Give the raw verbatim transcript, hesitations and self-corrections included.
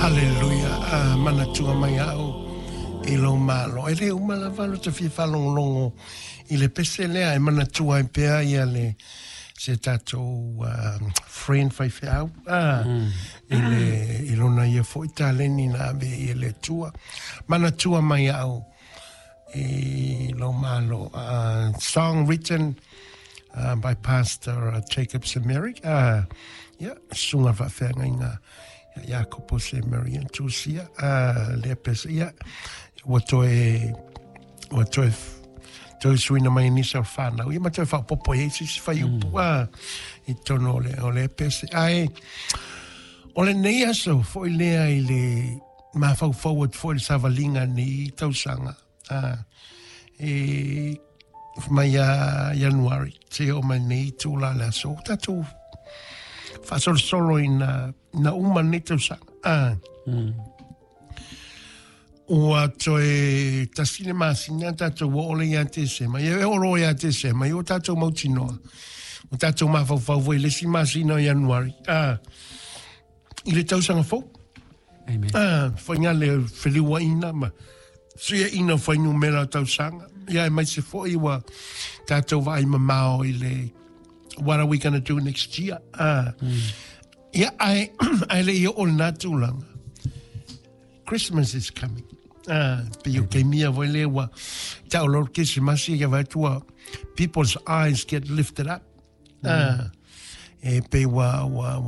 Haleluia. A manatua mai au i lou malo. E le uma lava lo te fia faalogologo i le pese lea e manatua ai pea ia le se tatou uh, friend faifeau ah, mm. i, le, i lona ia foi taleni na ave i le Atua. Manatua mai au i lou malo. Uh, song written uh, by Pastor uh, Jacob Semeri. Uh, yeah, susuga faafeagaiga Iakopo Semeri and Tusia. Uh, lea pese, ia, ua toe, ua toe, toe suina mai nisi o whanau. Ia ma toe whapopo e sisi whai upu mm. ah, i tono o le, o le pese. Ai, o le nei aso foi lea i le mafaufau atu foi le savaliga ni tausaga. Ah, e mai ia Ianuari, te o mai nei tula le aso. Tatou faasolosolo ina, ina uma nei tausaga. Ah. Mm. Ua toe tasi le masina tatou ua ole ia Tesema. Ia e olo ia Tesema, ia o tatou mautinoa. O tatou mafaufau foi le isi masina o Ianuari. Ah, i le tausaga fou. Amen. Ah, faiga le feliuaina ma suiaina o fuainumera o tausaga. Ia e mai se foi ua tatou vaai mamao i le what are we going to do next year? Ah. Mm. Ia, ai, ai le ia o lena tulaga. Christmas is coming. Ah, pe o keimia voi le ua tau lor Christmas ia vai tua people's eyes get lifted up. Ah, e pe ua ua